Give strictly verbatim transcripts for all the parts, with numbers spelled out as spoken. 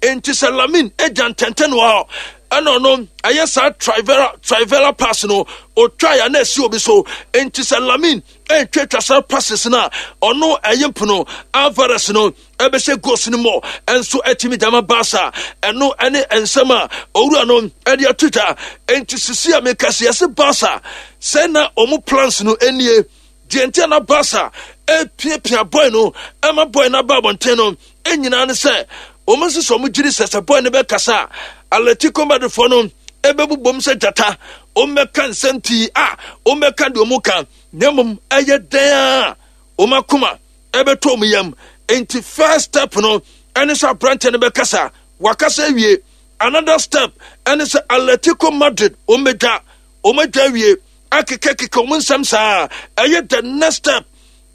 Enti sɛ Lamine agya ntɛntɛn wɔ hɔ ɛna ɔno ɛyɛ saa trivela trivela pass no otwa ya na esi obi so. Enti sɛ Lamine ɛntwatwa saa passes no a, ɔno ɛyɛ mpono Alvarez no ɛbɛhyɛ goals no mɔ ɛnso ɛtumi dama Barca. Ɛno ɛne nsɛm a owura no ɛde ato dwa. Enti sisi a meka sɛ yɛse Barca sɛ na ɔmo plans no ɛnie deɛ nti a na Barca ɛpiapia boy no ɛma boy no aba abɔnten no ɛnyinaa ne sɛ wɔn nso sɛ wɔn gyiri sɛ sɛ boy no bɛkasa a, Atletico Madridfoɔ no ɛbɛbobom sɛ gyata, wɔn bɛka nsɛm pii a wɔn bɛka deɛ wɔn ka, na mmom ɛyɛ dɛn a wɔn akoma ɛbɛtɔ wɔn yam. Nti first step no ɛne sɛ aberanteɛ no bɛkasa, wakasa awie. Another step ɛne sɛ Atletico Madrid wɔn bɛdwa, wɔn adwa awie akekakeka wɔn nsɛm saa. Ɛyɛ the next step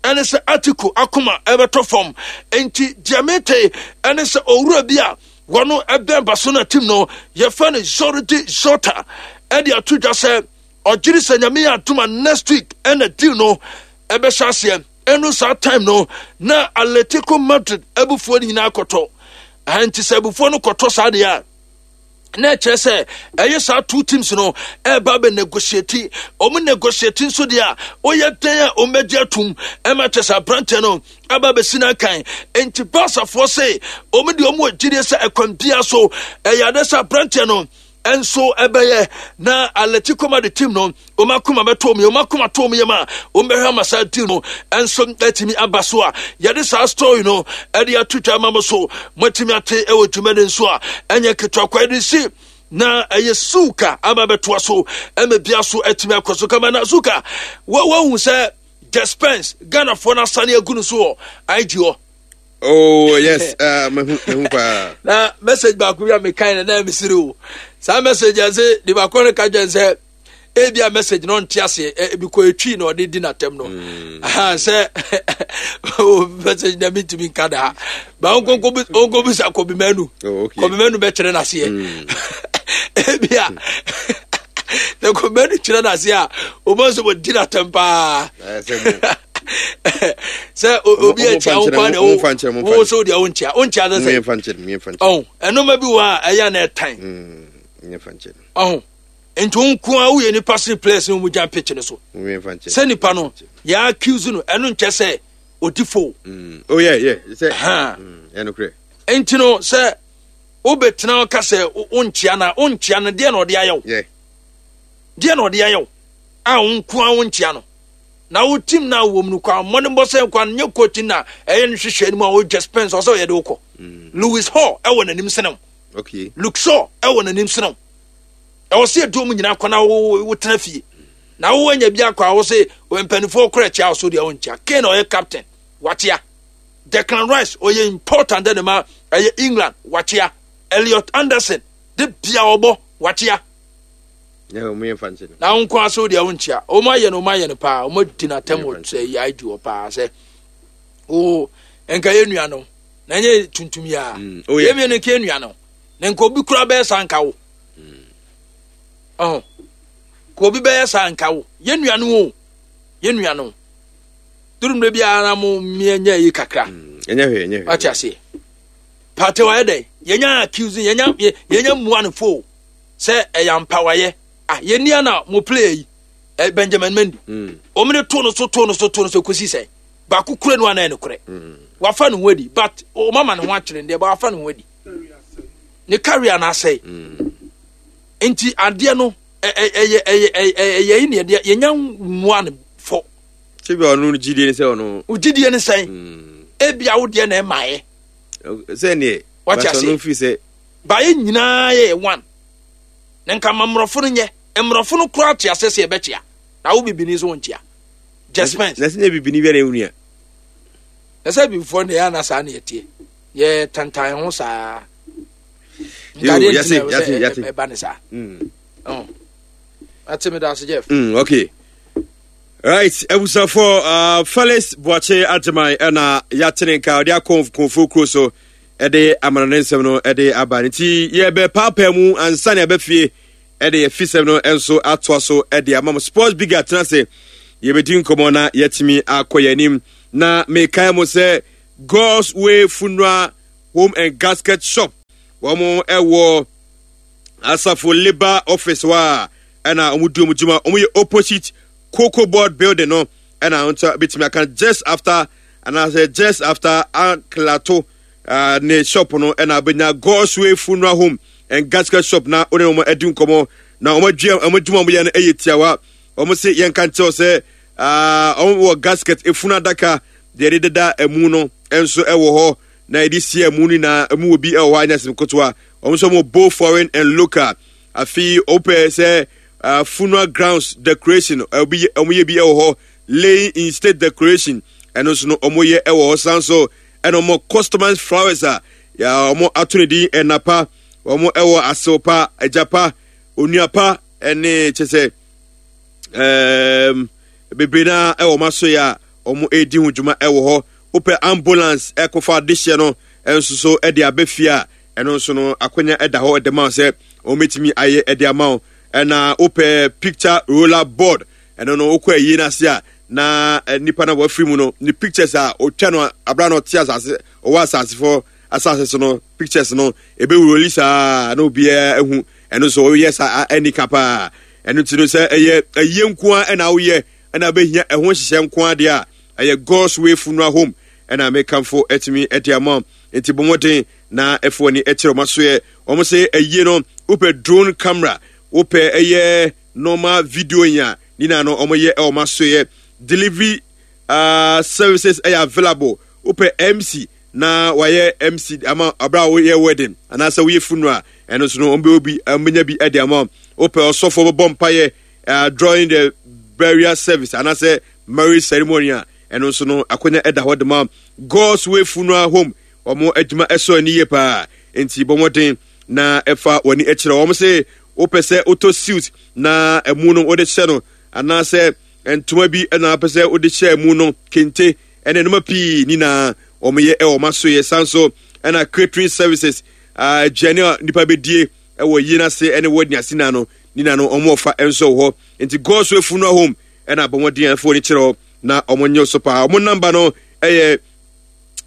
ɛne sɛ Atletico akoma ɛbɛtɔ fam. Nti deɛ mete ɛne sɛ owura bi a wɔn ɛbɛn Barcelona team no, yɛfɛ no Jordi Jota, ɛde ato dwa sɛ ɔgyere sɛ Nyame yɛ adom a, next week ɛna deal no ɛbɛhyɛ aseɛ. Ɛno saa time no na Atletico Madrid abufuo no nyinaa kɔtɔ. Nti sɛ abufuo no kɔtɔ saa deɛ a, na ɛkyerɛ sɛ ɛyɛ saa two teams no ɛreba bɛ negotiate. Wɔn negotiate nso deɛ a, ɔyɛ dɛn a wɔn bɛgye atum ɛma kyerɛ sɛ aberanteɛ no aba bɛsi n'akan. Nti Barcafoɔ se wɔn deɛ wɔn wɔ gyidie sɛ ɛkwan bia so ɛyɛ ade sɛ aberanteɛ no nso ɛbɛyɛ na Atletico Madrid team no wɔn akoma bɛtɔ wɔn yam. Wɔn akoma tɔ wɔn yam a, wɔn bɛhwɛ ama saa deal no nso atumi aba so a yɛde saa story no ɛde ato dwa ama mo so moatumi ate ɛwɔ dwumadi nso a ɛnyɛ ketewa kwa yɛde si na ɛyɛ suka aba bɛtoa so ɛma bia so atumi akɔ so kama. Na suka wɔahu sɛ Spence Ghanafoɔ no asane agu no so wɔ I G hɔ. Oh yes, uh, mehu mehu paa. Na message baako bi a mekan na na mesere o. Saa message a sɛ de baako no ka kyɛn sɛ ebi a message no nte aseɛ, ebi kɔ etwi na ɔde di n'atɛm no. Mm. Sɛ o message na mi ntumi nka daa ba onko bisa Kobi Manu. Oh, okay. Kobi Manu bɛkyerɛ n'aseɛ. Mm. Ebi a na Kobi Manu kyerɛ n'aseɛ a, o ma nso wɔ di n'atɛm paa. Eh, sɛ mo- Sɛ o- obi Ɔmo- akyia ɔmo wo fa kwan nkyerɛ, na ɔmo fa nkyerɛ, ɔmo fa wo so deɛ wonkyia wonkyia sɛ mo sɛ yɛmfa nkyerɛ, mo yɛmfa nkyerɛ. Ɔho ɛnoma bi wɔ a ɛyɛ na ɛtan. Mm, yɛmfa nkyerɛ. Ɔho nti wo nko a woyɛ nipa sene players no mu gyan pitch no so. Mo yɛmfa nkyerɛ. Sɛ nipa no yɛ accuse no, ɛno nkyɛ sɛ ɔdi fo. Mm. Oh yeah, yeah. Sɛ Ha. mm, ɛnokorɛ. Nti no sɛ wobɛtena wo ka sɛ wo- wonkyia no a, wonkyia no deɛ na ɔde ayɛ wo? Yeah. Deɛ na ɔde ayɛ wo a wo nko a wonkyia no? Na wo team na wɔ mu no kwa mmɔdenbɔ sɛ kwa nyɛ coach na ɛyɛ no hwehwɛ anim a wɔdwa Spence ɔsɛ ɔyɛ de wokɔ. Mm. Lewis Hall ɛwɔ n'anim sene wo. Okay. Luke Shaw ɛwɔ n'anim sene wo. Ɛwɔ sɛ yɛde wɔn nyinaa kɔ na wo wotena fie na wo anya bi akɔ a wo se mpanimfoɔ kora kyia wo so deɛ wonkyia. Kane ɔyɛ captain wakyia. Declan Rice ɔyɛ important dɛ ne ma ɛyɛ England wakyia. Elliot Anderson de bia ɔbɔ wakyia. Yeah, mo yɛmfa nkyerɛ. Na wo nko aso deɛ wonkyia. Wɔn ayɛ no, wɔn ayɛ no paa, wɔn adi n'atɛm wɔ sɛ yɛ I G hɔ paa sɛ o nka yɛ nua no na nyɛ tuntum yi a. Mm. Oh yeah. Yɛ mmienu nka yɛ nua no na nka obi kura bɛyɛ saa nka wo ɔho ka obi bɛyɛ saa nka wo yɛ nua no o, yɛ nua no duru mmerɛ biara na mo mmea nya yi kakra. Mm. Ɛnyɛ hwee, ɛnyɛ hwee. Wate aseɛ? Partey wayɛ dɛn? Yɛnya accuse, yɛnya yɛ- yɛnya mmua no fo sɛ ɛyɛ ampa wayɛ ah yɛni ana mo player yi eh, Benjamin Mendy. Mm. Wɔn de to no so to no so to no so kɔsi sɛn baako kura no anan no korɛ. Mm. Wafa ne ho adi, but wɔn ama ne ho akyerɛ deɛ ba wafa ne ho adi ne career na asɛe. Mm. Nti adeɛ no ɛ- ɛ- ɛyɛ ɛyɛ ɛyɛ ɛyɛ yi ne yɛde yɛnya mmua no fɔ. Sɛ bi a ɔno no gyidie ne sɛ ɔno. Ogyidie ne sɛn? Mm. Ebia wo deɛ na ɛmaeɛ. Sɛ neɛ. Wate But aseɛ? ɔno firi sɛ. Baayɛ nyinaa yɛ one na nka ma mmorɔfo no nyɛ mmorɔfo no koraa te ase sɛ yɛbɛkyea na wo bibini nso wonkyea Just Spence. Na sɛ nyɛ bibini bi a na ɛwu nua. Na sɛ bibifoɔ no yɛ ana saa ne yɛteɛ yɛ tantan ho saa. Yo, nkadeɛ nti yate, na ɛwɔ yate, sɛ yate. ɛ- ɛba ne saa. Mm. Ɔn. Ate me da ase, Jeff. Mm, okay. Right, abusuafoɔ, uh, Felix Boakye Agyeman ɛna yɛatene nka ɔde akɔ Kɔnfo kuro so ɛde amana ne nsɛm no ɛde aba no nti yɛbɛpaapaa mu ansa ne ɛbɛfie ɛde yɛfisɛm no nso atoa so ɛde ama mo. Sports Big atena ase, yɛbɛdi nkɔmmɔ na yɛatumi akɔ yɛn anim. Na mekae mo sɛ God's Way Funeral Home and Gasket Shop. Wɔn ɛwɔ Asafo Labour Office hɔ a ɛna wɔn di wɔn dwuma. Wɔn yɛ opposite Cocoa Board building no, ɛna nso betumi aka just after anaasɛ just after Anklato uh, ne shop no, ɛna abɛnya Godsway Funeral Home and Gasket Shop na wɔne wɔn adi nkɔmɔ. Na wɔn adwuma wɔn adwuma wɔn yɛ no yɛ tiawa. Wɔn se yɛn ka nkyɛw sɛ wɔn wɔ gasket, efunu adaka deɛ yɛde deda emu no nso ɛwɔ hɔ na yɛde sie emu no nyinaa. Emu wɔ bi ɛwɔ hɔ anya sɛm ketewa. Wɔn nso wɔn both foreign and local. Afei wɔpɛ sɛ uh, funeral grounds decoration, ɛbi wɔn yɛ bi ɛwɔ hɔ. Laying in state decoration, ɛno nso no wɔn yɛ ɛwɔ hɔ. San so ɛna wɔn customized flowers a wɔn ato ne din ɛnapa. Wɔn ɛwɔ asewpa, agyapa, onuapa, ɛne kyɛ sɛ ɛɛm bebree naa ɛwɔ wɔn aso yɛ a wɔn redi ho dwuma ɛwɔ hɔ. Wopɛ ambulance ɛkɔfa adehyeɛ no nso so ɛde aba fie a, ɛno nso no akonya ɛda hɔ ɛde ma wo sɛ wɔn bɛtumi ayɛ ɛde ama wo. Ɛna wopɛ picture roller board, ɛno no wokɔ ayie no ase a na nipa no a wafiri mu no ne pictures a ɔtwa no abira na ɔte asase, ɔwɔ asase fɔ asase so no pictures no ebɛwuroli saa na obiara ehu. Ɛno nso ɔyɛ saa ɛni ka paa. Ɛno ti no sɛ ɛyɛ ayie nko ara ɛna woyɛ ɛna abɛhia ɛho nhyehyɛ nko ara deɛ a, ɛyɛ God's Way Funeral Home ɛna mekamfo ɛtumi ɛde ama. Nti bɔ mmɔden na ɛfo ani ɛkyerɛ wɔn asoɛ. Wɔn sɛ ayie no wopɛ drone camera, wopɛ ɛyɛ normal video yi a, ne nyinaa no wɔn yɛ ɛwɔ wɔn asoɛ. Delivery uh, services ɛyɛ available. Wopɛ M C na wayɛ M C ama abira a woyɛ wedding anaasɛ woyɛ funeral, ɛno nso no wɔn bɛ obi wɔn bɛnya bi ɛde ama. Wopɛ ɔsɔfo bɛbɔ mpaeɛ uh, during the burial service anaasɛ marriage ceremony a, ɛno nso no akonnwa ɛda hɔ de ma. God's Way Funeral Home, wɔn adwuma ɛsɔ ani yie paa, nti bɔ mmɔden na ɛfa wɔn ani akyerɛ wɔn. Sɛ wopɛ sɛ wotɔ suit na ɛmu no wode hyɛ no, anaasɛ ntoma bi ɛna apɛ sɛ wode hyɛ ɛmu no, kente ɛne nneɛma pii nyinaa wɔn yɛ ɛwɔ wɔn aso yɛ. San so ɛna catering services, aduane a nipa bɛdie ɛwɔ yie n'ase ɛne wɔ ase na no nyinaa no wɔn wɔfa nso wɔ hɔ. Nti God's Way Funeral Home ɛna abɔ mmɔden a ɛfo ani kyerɛ hɔ na wɔn nyɛ so paa. Wɔn number no ɛyɛ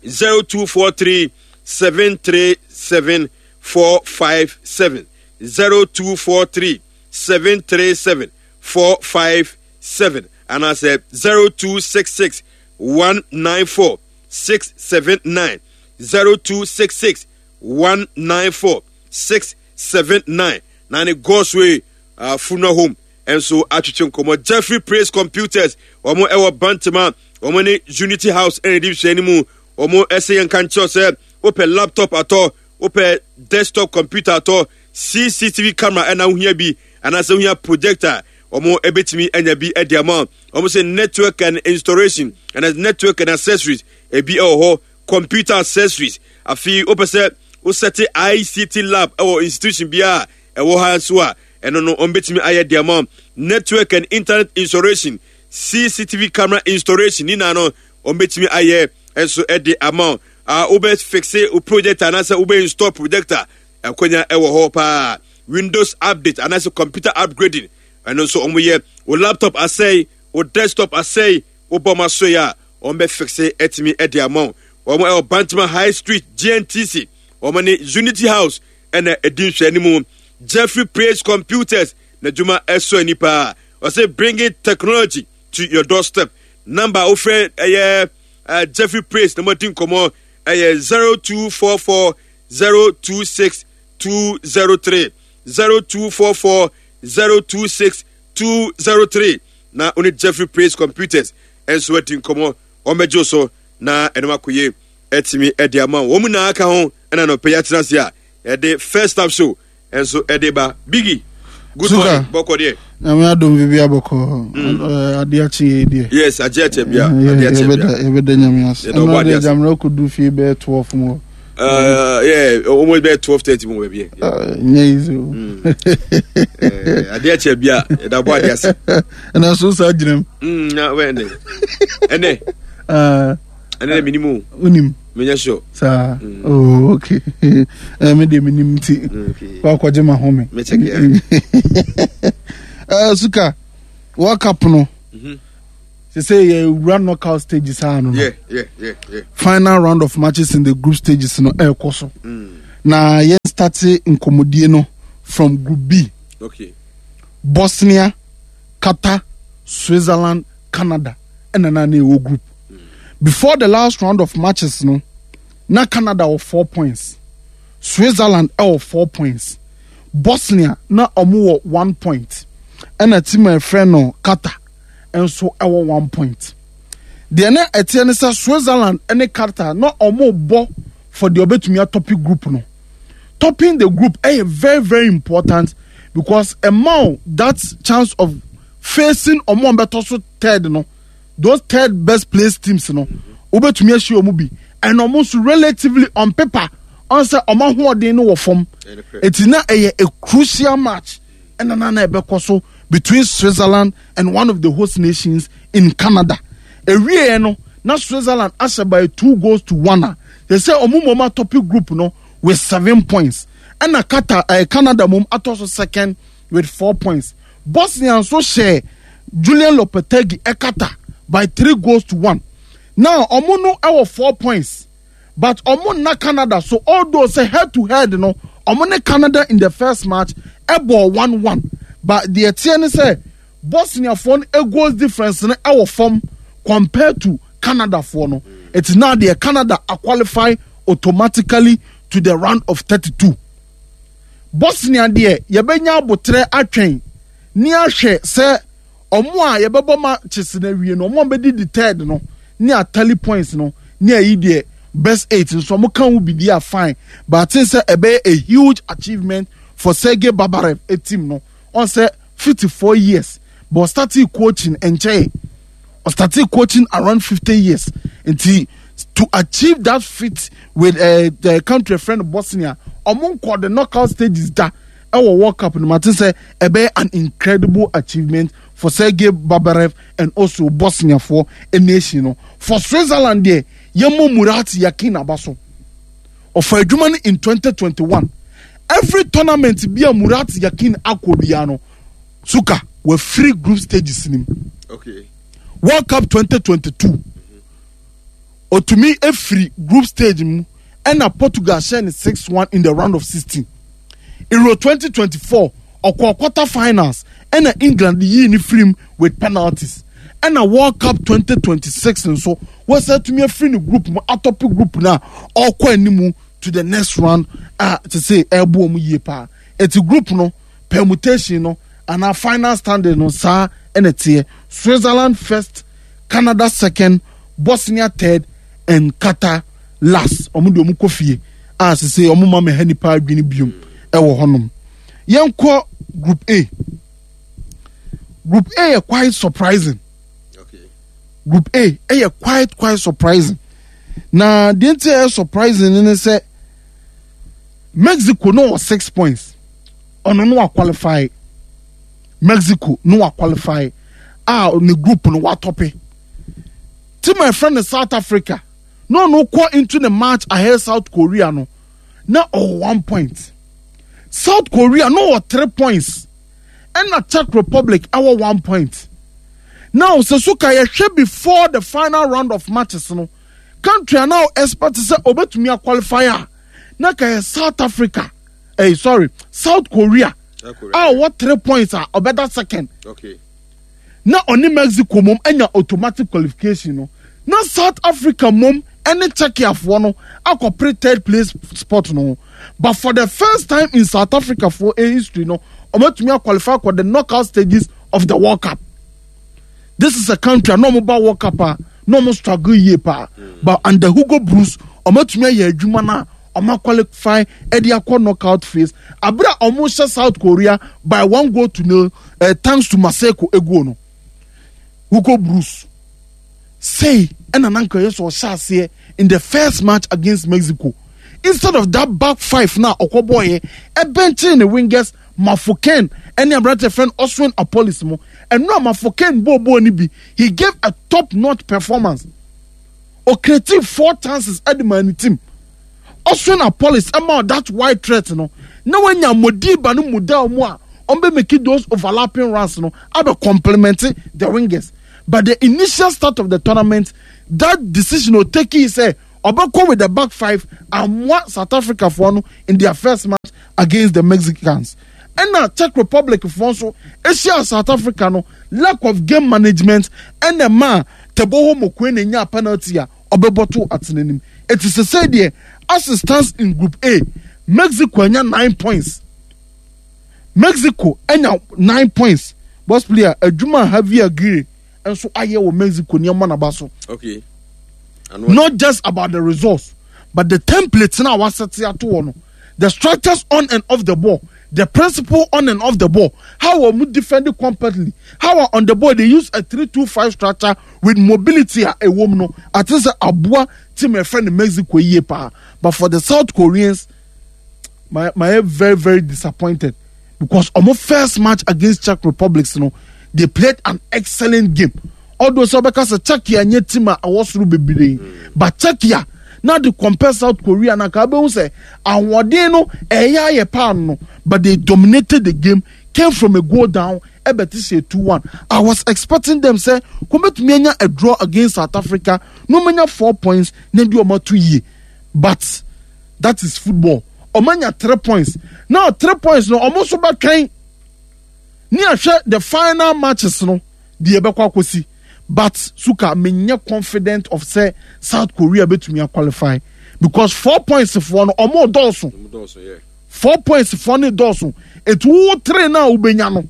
zero two four three seven three seven four five seven, zero two four three seven three seven four five seven, anaasɛ zero two six six one nine four six seven nine, zero two six six one nine four six seven nine. Na ne God's Way uh, Funeral Home nso atwitwe nkɔmmɔ. Jeffrey Praise Computers, wɔn ɛwɔ Bantama, wɔn ne Unity House ɛna di nhwɛ anim. Wɔn ɛsɛ yɛn ka nkyɛw sɛ wopɛ laptop atɔ, wopɛ desktop computer atɔ, C C T V camera ɛna wohia bi, anaasɛ wohia projector, wɔn ɛbɛtumi anya bi ɛde ama wɔn. Sɛ network and installation ɛna network and accessories ebi ɛwɔ hɔ, computer accessories. Afei wopɛ sɛ wosɛte I C T lab ɛwɔ institution biara ɛwɔ ha nso a, ɛno no wɔn bɛtumi ayɛ de ama. Network and internet installation, C C T V camera installation nyinaa no wɔn bɛtumi ayɛ nso ɛde ama. A wobɛ fix wo projector anaasɛ wobɛ install projector, ɛkonya ɛwɔ hɔ paa. Windows update anaasɛ computer upgrading, ɛno nso wɔn yɛ. Wo laptop asɛe, wo desktop asɛe, wobɔ ɔmo aso yɛ a, wɔn bɛ fix ɛtumi ɛde ama wɔn. Ɛwɔ Bantama High Street, G N T C, wɔn ne Unity House ɛna ɛdi nhwɛ anim. Jeffrey Praise Computers n'adwuma ɛsɔ ani paa. Ɔsɛ bringing technology to your doorstep. Number a wofrɛ ɛyɛ uh, Jeffrey Praise na mo adi nkɔmɔ ɛyɛ zero two four four zero two six two zero three, zero two four four zero two six two zero three, na one Jeffrey Praise Computers ɛnso adi nkɔmɔ. Wɔn bɛgye so na ɛnum akɔyɛ ɛtumi ɛde ama wɔn mu nyinaa ka ho. Ɛna nɔpɛ yɛ atena ase a yɛde First Stop Show ɛnso ɛde ba. Biggie, good morning, bɔkɔ deɛ? Nyame adom, biribi abɔkɔ. Adeɛ akye yɛ deɛ. Yes, agye akyɛ bia, adeɛ akyɛ bia. Yɛbɛda Nyame ase. Ɛno deɛ gyammerɛ kɔdu fie bɛyɛ twelve mu hɔ. Uh, yeah, almost bɛyɛ twelve thirty mu baabi. Nyɛ easy o. Adeɛ akyɛ bia, yɛda bɔ adeɛ ase. Ɛna so saa gyina mu. Na wɛ ɛnɛ ɛnɛ ɛnɛ dɛ minimu. Wonim? Menyɛ sure. Saa, oh, okay. Ɛ me deɛ menim nti wakɔgye ma home. uh, suka World Cup no sɛ sɛ yɛwura knockout stages a no no yeah, yeah, yeah, yeah. final round of matches in the group stages no ɛrekɔ so. Mm. Na yɛn start nkɔmmɔdie no from Group B. Okay. Bosnia, Qatar, Switzerland, Canada ɛna na na ɛwɔ group. Before the last round of matches no, na Canada wɔ four points, Switzerland ɛwɔ four points, Bosnia na ɔmo wɔ one point, ɛna team a ɛfrɛ no Qatar nso ɛwɔ one point. Deɛ na ɛteɛ ne sɛ Switzerland ne Qatar na ɔmo bɔ for deɛ ɔbɛtumi atop group no. Topping the group ɛyɛ very very important because ɛma wo that chance of facing ɔmo a ɔbɛtɔ so third no, those third best place teams no, wobɛtumi ahyia ɔmo bi, and ɔmo nso relatively on paper ɔn sɛ ɔmo ahoɔden no wɔ fam. Eti na ɛyɛ a crucial match ɛna na na ɛbɛkɔ so between Switzerland and one of the host nations in Canada. Ewie no, na Switzerland ahyɛ by two goals to one a they say ɔmo mom atop group no with seven points, ɛna Qatar, ɛɛ Canada mom atɔ so second with four points. Bosnia nso hyɛ Julian Lopetegui ɛkata by three goals to one. Now ɔmo no ɛwɔ four points, but ɔmo nna Canada so, although sɛ head to head no, ɔmo ne Canada in the first match ɛbɔ one one, but deɛ teɛ ne sɛ Bosniafoɔ no goals difference no ɛwɔ fam compared to Canadafoɔ no. It's now deɛ Canada a qualify automatically to the round of thirty-two. Bosnia deɛ, yɛbɛnya abotrɛ atwɛn ne ahwɛ sɛ ɔmo a yɛbɛbɔ matches na awie no, ɔmo a bɛdi the third no ne atally points no ne ayi deɛ best eight nso ɔmo ka ho bi di a, fine, but I think sɛ ɛbɛyɛ a huge achievement for Sergei Babarev a team no ɔn sɛ fifty four years, but ɔstarted coaching nkyɛn, ɔstarted coaching around fifty years, nti to achieve that feat with uh, the country friend Bosnia, ɔmo nkɔ the knockout stages da ɛwɔ World Cup no mu, ati sɛ ɛbɛyɛ an incredible achievement for Sergei Babarev and also Bosnia for a nation no. For Switzerland deɛ, yɛmmɔ Murat Yakin aba so. Ɔfa adwuma no in twenty twenty-one. Every tournament bi a Murat Yakin akɔ biara no, suka wafiri group stages nim. Okay. World Cup twenty twenty-two, otumi efiri group stage mu ɛna Portugal hyɛ ne six one in the round of sixteen. Euro twenty twenty-four, ɔkɔ quarter finals ɛna England yii ne firim with penalties. Ɛna World Cup twenty twenty-six nso, wɔsɛ tumi afiri ne group mu atop group no a ɔrekɔ animu to the next round a te sɛ ɛɛbo wɔn yie paa. Eti group no permutation no anaa final standing no, saa ɛna teɛ: Switzerland first, Canada second, Bosnia third and Qatar last. Wɔn de wɔn kɔ fie a sese wɔn ma mɛha nipa adwene biom ɛwɔ hɔnom. Yɛnkɔ Group A. Group A yɛ quite surprising. Okay. Group A ɛyɛ quite quite surprising, na deɛ nti ɛyɛ surprising ne sɛ Mexico no wɔ six points, ɔno no wa qualify. Mexico no wa qualify a ne group no watop. Team a ɛfrɛ no South Africa na ɔno kɔ into the match ahead South Korea no, na ɔwɔ one point. South Korea no wɔ three points, ɛna Czech Republic ɛwɔ one point. Now sɛ so ka yɛhwɛ before the final round of matches no, country a now expect sɛ obetumi aqualify a, na ka yɛ South Africa, eh, sorry, South Korea a ɔwɔ three points a ɔbɛda second. Okay. Na ɔne Mexico mom anya automatic qualification no, na South Africa mom ɛne Czechiafoɔ no akɔpere third place spot no. But for the first time in South Africa for a history no, ɔmatumi aqualify for the knockout stages of the World Cup. This is a country a na ɔmo ba World Cup a na ɔmo struggle yie paa, but under Hugo Broos ɔmatumi ayɛ adwuma na ɔmo qualify ɛde akɔ knockout phase abere a ɔmo hyɛ South Korea by one goal to nil, uh, thanks to Maseko eguo no. Hugo Broos sei ɛna nanka yɛ sɛ ɔhyɛ aseɛ in the first match against Mexico, instead of that back five na ɔkɔ bɔɔyɛ, ɛbɛnkyɛn ne wingers Mafokeng ɛne aberante friend Oswin Appollis mu. Ɛno a Mafokeng bɔɔbɔɔ no bi, he gave a top notch performance. Ɔcreate four chances ɛde maa ne team. Oswin Appollis ɛma that wide threat no, na wanya Modiba no mu da mu a ɔmbɛ make those overlapping runs no abɛ complement the wingers. But the initial start of the tournament, that decision o take sɛ ɔbɛkɔ with the back five amoa South Africa foɔ no in their first match. against the Mexicans. Ɛna Czech Republic foɔ nso ahyia South Africa no, lack of game management ɛna ɛma Teboho Mokoena nya penalty a ɔbɛbɔ to atenanim. Eti sese deɛ, as it stands in Group A, Mexico anya nine points. Mexico anya nine points. Boss player, adwuma Javier Aguirre nso ayɛ wɔ Mexico nneɛma n'aba so. Okay. Not just about the results, but the template na wasɛte ato wɔ no, the structures on and off the ball, the principle on and off the ball, how wɔn defend competently, how on the ball they use a three two five structure with mobility a ɛwɔ mu no ate sɛ aboa team ɛfɛ no Mexico yie paa. But for the South Koreans, my my very very disappointed, because ɔmo first match against Czech Republic no, they played an excellent game, although sɛ ɔbɛka sɛ Czechia nye team a ɛwɔ soro bebree, but Czechia na de compare South Korea na ka abɛhu sɛ ahoɔden no ɛyɛ ayɛ paa no, but they dominated the game, came from a goal down ɛbɛte sɛ two one. I was expecting them sɛ kɔmɛtumi anya a draw against South Africa na ɔmanya four points na de ɔmo ato yie, but that is football. Ɔmo anya three points. Now three points no, ɔmo nso bɛtwɛn ne ahwɛ the final matches no deɛ ɛbɛkɔ akɔsi. But suka menyɛ confident of sɛ South Korea bɛtumi aqualify, because four points foɔ no, ɔmo dɔɔso. Four points foɔ no dɔɔso, etu wo three na wobɛnya no,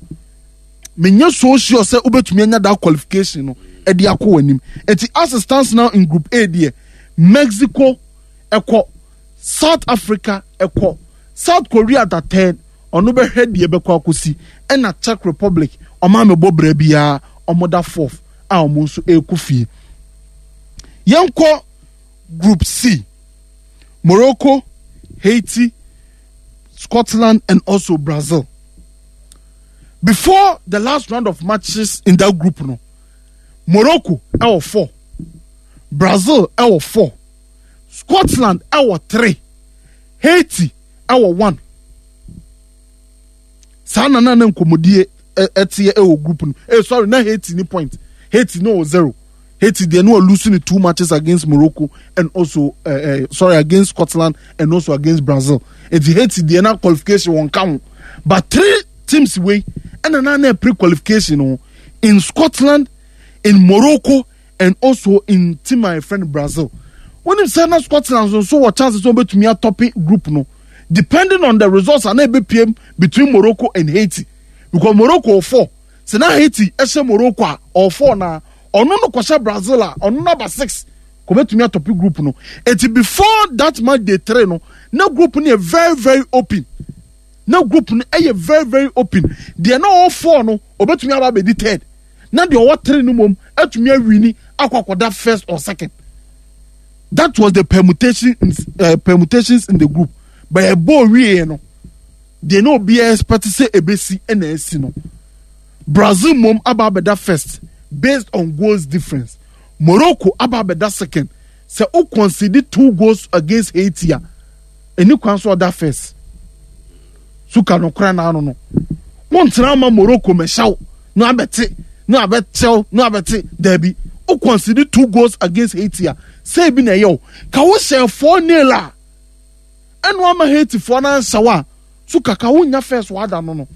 menyɛ so sure sɛ wobɛtumi anya that qualification no ɛde akɔ w'anim. Eti as it stands now in Group A deɛ, Mexico ɛkɔ, South Africa ɛkɔ, South Korea da third, ɔno bɛhwɛ deɛ ɛbɛkɔ akɔsi, ɛna Czech Republic, ɔmo amebɔ brɛ biara, ɔmo da fourth a ɔmo nso ɛrekɔ fie. Yɛnkɔ Group C: Morocco, Haiti, Scotland and also Brazil. Before the last round of matches in that group no, Morocco ɛwɔ four, Brazil ɛwɔ four, Scotland ɛwɔ three, Haiti ɛwɔ one. Saa na na na nkɔmɔdie ɛteɛ ɛwɔ group no. Eh, sorry, na Haiti ni point, Haiti no wɔ zero. Haiti deɛ no wɔ losing the two matches against Morocco and also uh, uh, sorry, against Scotland and also against Brazil. Eti Haiti deɛ, na qualification wɔn ka ho, but three teams wei ɛna na na pre qualification no in Scotland, in Morocco and also in team my friend Brazil. Wɔnim sɛ na Scotland nso wɔ chances sɛ wɔbɛtumi atop group no, depending on the results ana ebepiem between Morocco and Haiti, because Morocco four, sɛ na Haiti ɛhyɛ Morocco a, ɔwɔ four, na ɔno no kɔhyɛ Brazil a, ɔno number six kò bɛtumi atop group no. Eti before that match day three no, na group no yɛ very very open, na group no ɛyɛ very very open. Deɛ na ɔwɔ four no, ɔbɛtumi aba abɛdi third, na deɛ ɔwɔ three no mom atumi awin akɔ akɔda first or second. That was the permutation in, uh, permutations in the group. But ɛbɔ wie no deɛ, na obiara expect sɛ ebesi ɛna esi no, Brazil mom aba abɛda first based on goals difference, Morocco aba abɛda second. Sɛ o concede two goals against Haiti a, ɛni kwan so ɔda first. Suka no kora n'ano no, wɔntena ama Morocco mɛhyɛw na abɛte na abɛkyɛw na abɛte daabi. O concede two goals against Haiti a, sɛ ebi na ɛyɛ o ka wo hyɛ four nil a, ɛno ama Haiti foɔ n'anhyɛw a, suka ka wo nya first wada no no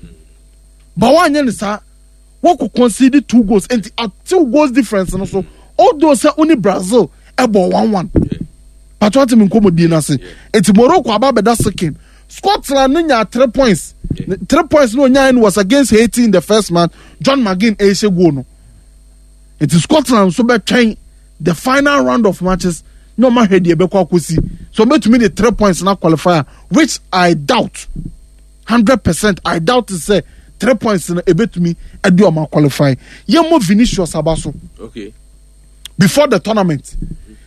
ba wanyɛ ne saa. Wɔkɔ concede two goals, nti atew goals difference no so, although sɛ wo ne Brazil ɛbɔ one one patro ati mi nkɔmɔ n'ase. Nti Morocco aba abɛda second. Scotland no nya three points. Three points no onyaa no was against Haiti in the first match, John McGinn ɛhyɛ goal no. Nti Scotland nso bɛtwɛn the final round of matches na ɔmo ahwɛ deɛ ɛbɛkɔ akɔsi so ɔbɛtumi de three points na qualify, which I doubt hundred percent. I doubt sɛ three points no ebetumi ɛde ɔmo qualify. Yɛn mo Vinicius aba so. Okay. Before the tournament,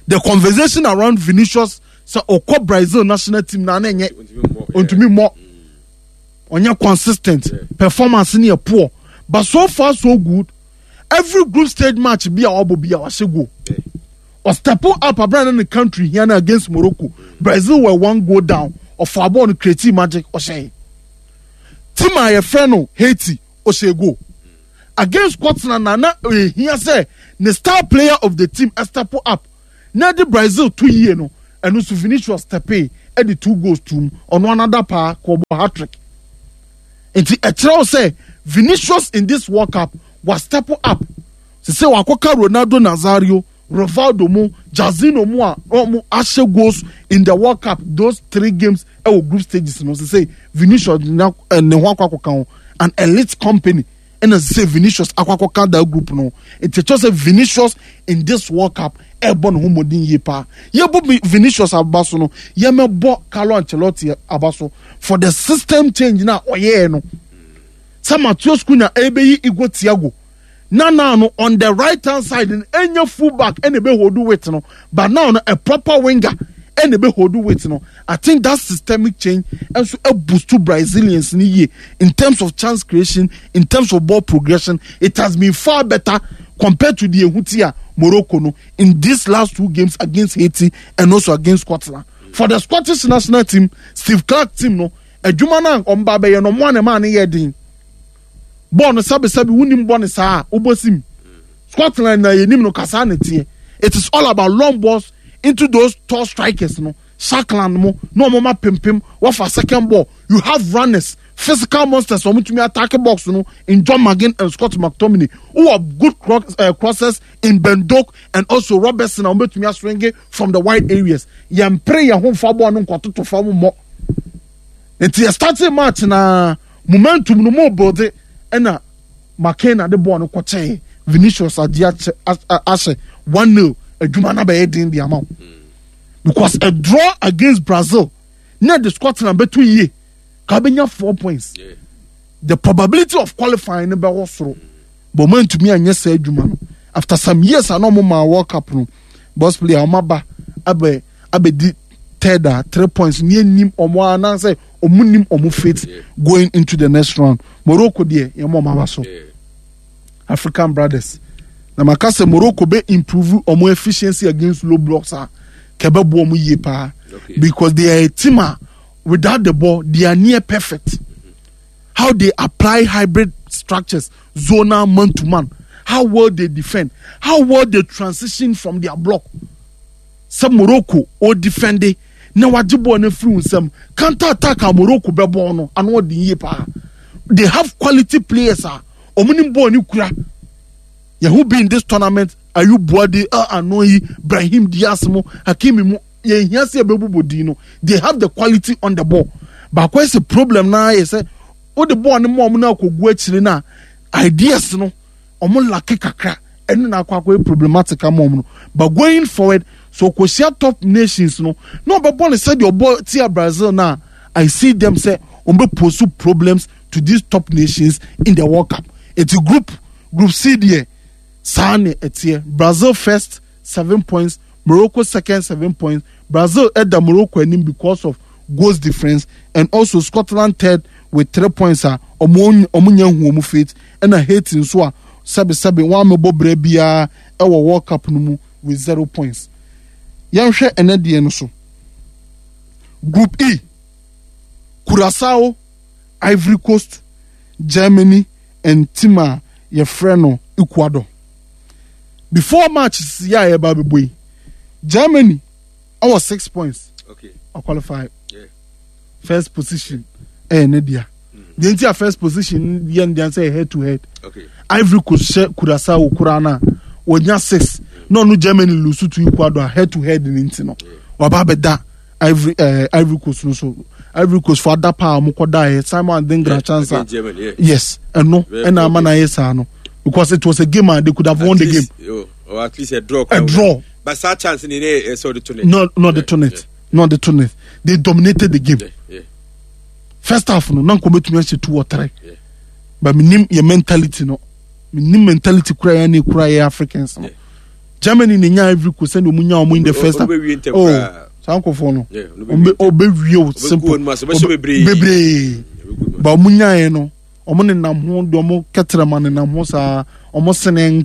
the conversation around Vinicius sɛ ɔkɔ Brazil national team na ne nyɛ ntumi mmɔ, ɔnyɛ consistent, performance ni yɛ poor, but so far so good. Every group stage match bi a ɔbɔ bi a, wahyɛ goal. Ɔstep up abira ne country here na against Morocco, Brazil were one goal down, ɔfa bɔɔl no, create magic, ɔhyɛ. Team a yɛfrɛ no Haiti, ɔhyɛ goal. Against Scotland na na ehia sɛ ne star player of the team step up na de Brazil to yie no, ɛno nso Vinicius step in Ɛde two goals tum ɔno another paa kɔ ɔbɔ hat-trick. Nti ɛkyerɛw sɛ Vinicius in this World Cup wa step up sise wakɔka Ronaldo Nazario, Rivaldo mu, Jairzinho mu a wɔn ahyɛ goals in the World Cup, those three games ɛwɔ group stages no. Sise Vinicius na ne ho akɔ akɔka ho, an elite company ɛna sise Vinicius akɔ akɔka that group no. Nti ɛkyerɛ sɛ Vinicius in this World Cup ɛbɔ ne ho mmɔden yie paa. Yɛbɔ Vinicius aba so no, yɛmɛbɔ Carlo Ancelotti aba so for the system change na ɔyɛɛ no sɛ Matheus Cunha ɛbɛyi Igor Thiago na now no on the right hand side no, ɛnyɛ full back ɛna ebe hold width no, but now no a proper winger ɛna ebe hold width no. I think that systemic change ɛnso ɛboost to Brazilians ni yie in terms of chance creation, in terms of ball progression. It has been far better compared to the ehuti a Morocco no in these last two games against Haiti and also against Scotland. For the Scottish national team, Steve Clarke team no, adwuma no a ɔmba bɛyɛ no, ɔmo a ne maa ne yɛ den. Bɔɔl no, sɛbisɛbi, wunim bɔ ne saa wobɔ sim Scotland na yɛnim no kasa ne teɛ. It is all about long balls into those tall strikers no, Shankland mo na ɔmo ma pimpim wɔfa second ball. You have runners, physical monsters, ɔmo tumi attack box no in John McGinn and Scott McTominay, who are good cross, uh, crosses in Ben Doak and also Robertson a ɔmo betumi aswing from the wide areas. Yɛn pere yɛn ho nfa bɔɔl no nkɔtoto fam mmɔ. Nti yɛ starting match na momentum no mo build, ɛna McKenna de bɔɔl no kɔkyɛɛ Vinicius, agye akyɛ ahyɛ one nil. Adwuma no bɛyɛ den de ama wo because a draw against Brazil na de Scotland bɛto yie ka bɛnya four points. yeah. The probability of qualifying no bɛwɔ soro, but ɔmo ntumi anyɛ saa adwuma no. After some years a na ɔmo maa World Cup no, boss player, ɔmo aba abɛ abɛdi third a three points ní enim ɔmo anaasɛ ɔmo nim ɔmo fate going into the next round. Morocco deɛ, yɛn mo ɔmo aba so. African brothers na maka sɛ Morocco bɛ improve ɔmo efficiency against low blocks a kɛbɛ bu ɔmo yie paa because they are a team a without the ball they are near perfect. How they apply hybrid structures, zonal, man to man, how well they defend, how well they transition from their block. Sɛ Morocco o defend na wagye bɔɔl no afiri nsam, counter attack a Morocco bɛ bɔɔl no ano ɔde yie paa. They have quality players a wɔn ni bɔɔl no kura. Yɛho bi in this tournament, Ayyoub Bouaddi, El Aynaoui, Brahim Diaz mo, Hakimi mu, yɛn hia sɛ yɛbɛbobɔ din no. They have the quality on the ball. Baako ɛsɛ problem naa yɛ sɛ wode bɔɔl no mu a, ɔmo no akɔgu akyire no a, ideas no ɔmo lack kakra. Ɛno na akɔ akɔyɛ problematic ama ɔmo no. But going forward, so kɔhyia top nations no na ɔbɛbɔ no sɛdeɛ ɔbɔ tia Brazil na I see them sɛ ɔmo bɛ pose problems to these top nations in the World Cup. Eti group group C deɛ, saa ne ɛteɛ: Brazil first, seven points; Morocco second, seven points. Brazil ɛda Morocco anim because of goals difference, and also Scotland third with three points a ɔmo ɔmo nya hu ɔmo fate, ɛna Haiti nso a sɛbisɛbi wɔn amɛbɔ brɛ biara ɛwɔ World Cup no mu with zero points. Yɛnhwɛ ɛnɛ deɛ no so. Group E, Curacao, Ivory Coast, Germany and team a yɛfrɛ no Ecuador. Before match si a yɛba abɛbɔ yi, Germany ɛwɔ six points. Okay. Ɔqualify. Yeah. First position ɛyɛ ne dea. Deɛ nti a first position yɛ ne dea sɛ head to head. Okay. Ivory Coast hyɛ Curacao koraa na wɔnya six na ɔno Germany lose to Ecuador, head to head ne nti no waba abɛda Ivory ɛɛ Ivory Coast no so. Ivory Coast fo ada paa a wɔn kɔ da yɛ Simon Adingra chance a Against Germany, yeah. Yes, ɛno Very ɛna ama poor. na ayɛ saa no because it was a game a they could have At won the least, game. Oh, or at least a draw. A draw. But that chance in the so the to net. No, not the Yeah, to net, not the to net. They dominated the game. Yeah, yeah. First half no, na nkɔmɔ betumi ahyɛ two or three. Yeah. But minim yɛ mentality no, minim mentality kura yɛn ne kura yɛ Africans no. Yeah. Germany ne nya Ivory Coast sɛdeɛ ɔmo nya ɔmo in the first half. Ɔmo bɛwie ntɛm Oh, koraa. saa nkɔfoɔ no Yeah, ɔmo ɔmo bɛwie bɛ ɔbɛwie o, simple. ɔmo ase, ɔbɛhyɛ bebree. Bebree. Ɔbɛgu But ɔmo nyaeɛ no, ɔmo nenam ho de ɔmo kɛtɛrɛma nenam ho saa, ɔmo sene.